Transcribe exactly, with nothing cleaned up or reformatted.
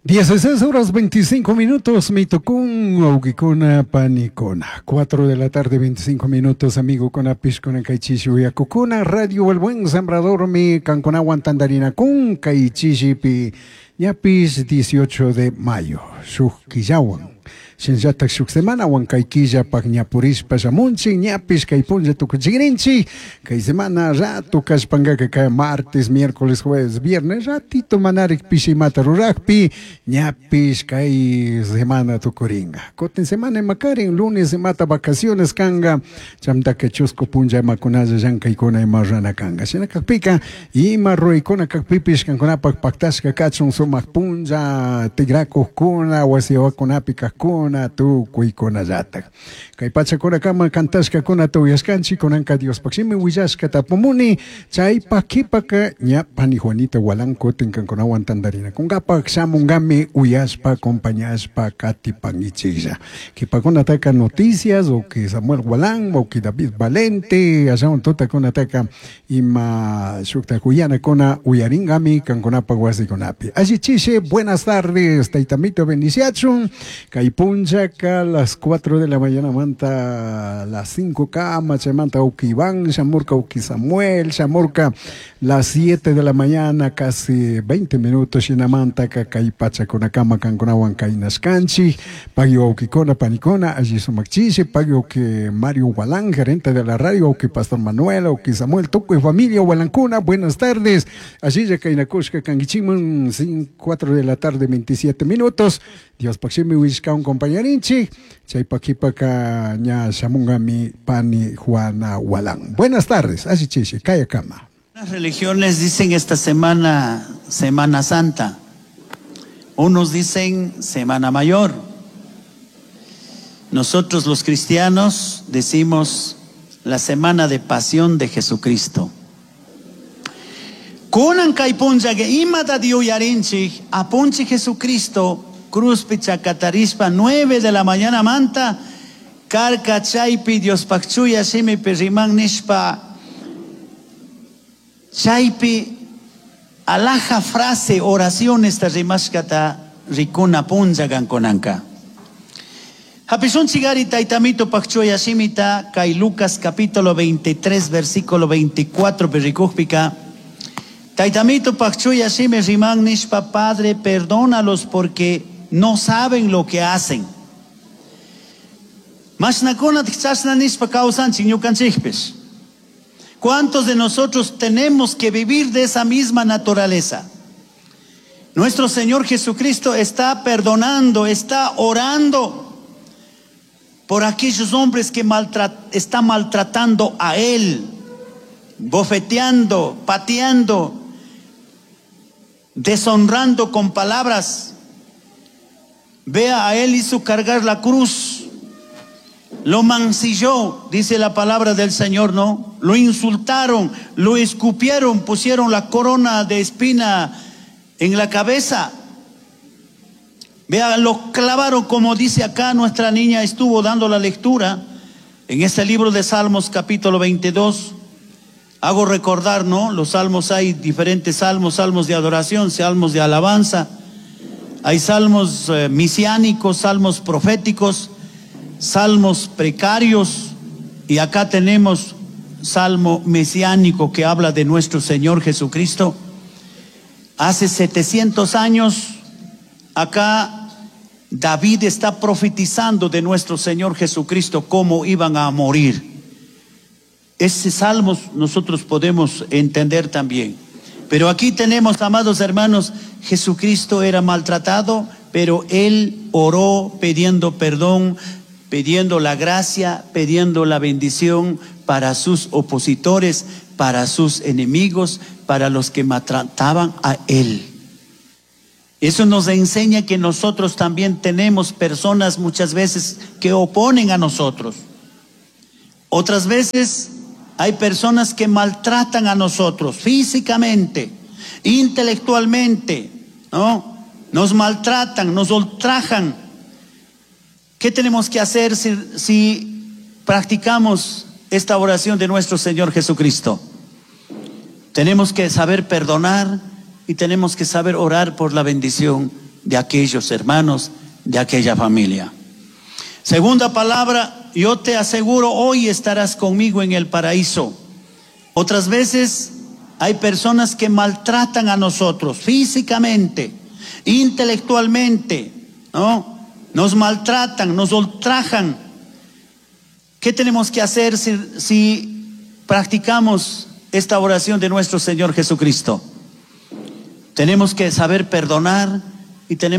dieciséis horas veinticinco minutos, mitukun, wawkikuna, panikuna. cuatro de la tarde, veinticinco minutos, amigo con apishkuna, kaychishi uyakukuna, Radio El Buen Sembrador, mi kankunawan tandarinakun, kaychishipi, ñapis dieciocho de mayo, shuk killawan. Shinllatak shuk semana kay killapaq ñapurishpa shamunchik, ñapish kay punlla tukuchikrinchik, kay semana rato kashpankaka kay martes, miércoles, jueves, viernes, ratito manarik pishimata rurakpi, ñapish kay semana tukuringa. Kutin semana imakarin, lunes imata vacaciones kanga, chamtaka chusku punlla imakunalla llankaykuna ima rurana kanga. Shina kakpika, ima ruraykuna kakpipish kankunapak paktashka kachun sumak punlla, tikrakuqkuna, wasiwakunapi kaqkuna, tukuykunallatak. Kay pachakunakama kantashkakunata uyashkanchik, kunanka Diospaq shimi willashka tapumuni, chaypak kipaka ña pani Juanita Gualán kutin kankunawan tantarinakunkapaq shamunkami uyashpa, acompañashpa katipankichiklla. Kipakunataka noticias, o que Samuel Gualán, o que David Valente, ashawan tutakunataka ima shuktak uyanakuna uyaringami kankunapaq wasikunapi. Allichishi, buenas tardes, taytamito bendiciachun, kay punchaka las cuatro de la mañana manta las cinco kama, chaymanta uki Iván, shamurka uki Samuel, shamurka las siete de la mañana, casi veinte minutos, shinamanta kay pachakunakama kankunawan kaynashkanchik, pagui wawkikuna panikuna, alli sumakchishi, pagui uki Mario Gualán, gerente de la radio, uki Pastor Manuel, uki Samuel, tukuy familia Gualancuna, buenas tardes, allí ya kaynakushka kankichikman, cuatro de la tarde, veintisiete minutos, Dios pakshimi wishkawan compañerinchik, chaypak kipaka ña shamunkami pani Juana Gualán. Buenas tardes, así chishi, kaya kama. Las religiones dicen esta semana, Semana Santa. Unos dicen Semana Mayor. Nosotros los cristianos decimos la Semana de Pasión de Jesucristo. Kunan kay punlla que imata diuyarinchik, apunchi Jesucristo, cruzpi chakatarispa, nueve de la mañana manta, karka chaypi Dios pakchuya shimipi riman nishpa, chaypi alaja frase, oración esta rimashkata rikuna punlla gankonanka. Hapishun chigari taitamito pakchuya shimita, kay Lucas capítulo veintitrés, versículo veinticuatro, perikujpika. Taitamito pakchuya shimi riman nishpa, Padre, perdónalos porque no saben lo que hacen. Mashnakuna tichashna nishpa kawsanchik ñukanchikpish. ¿Cuántos de nosotros tenemos que vivir de esa misma naturaleza? Nuestro Señor Jesucristo está perdonando, está orando por aquellos hombres que maltra-, están maltratando a Él, bofeteando, pateando, deshonrando con palabras. Vea, a Él hizo cargar la cruz, lo mancilló, dice la palabra del Señor, ¿no? Lo insultaron, lo escupieron, pusieron la corona de espina en la cabeza. Vea, lo clavaron, como dice acá nuestra niña estuvo dando la lectura en este libro de Salmos capítulo veintidós. Hago recordar, ¿no? Los salmos, hay diferentes salmos, salmos de adoración, salmos de alabanza. Hay salmos, eh, mesiánicos, salmos proféticos, salmos precarios. Y acá tenemos salmo mesiánico que habla de nuestro Señor Jesucristo. Hace setecientos años, acá David está profetizando de nuestro Señor Jesucristo cómo iban a morir. Ese salmo nosotros podemos entender también. Pero aquí tenemos, amados hermanos, Jesucristo era maltratado, pero Él oró pidiendo perdón, pidiendo la gracia, pidiendo la bendición para sus opositores, para sus enemigos, para los que maltrataban a Él. Eso nos enseña que nosotros también tenemos personas muchas veces que oponen a nosotros. Otras veces hay personas que maltratan a nosotros físicamente, intelectualmente, ¿no? Nos maltratan, nos ultrajan. ¿Qué tenemos que hacer si, si practicamos esta oración de nuestro Señor Jesucristo? Tenemos que saber perdonar y tenemos que saber orar por la bendición de aquellos hermanos, de aquella familia. Segunda palabra, yo te aseguro, hoy estarás conmigo en el paraíso. Otras veces hay personas que maltratan a nosotros físicamente, intelectualmente, ¿no? Nos maltratan, nos ultrajan. ¿Qué tenemos que hacer si, si practicamos esta oración de nuestro Señor Jesucristo? Tenemos que saber perdonar y tenemos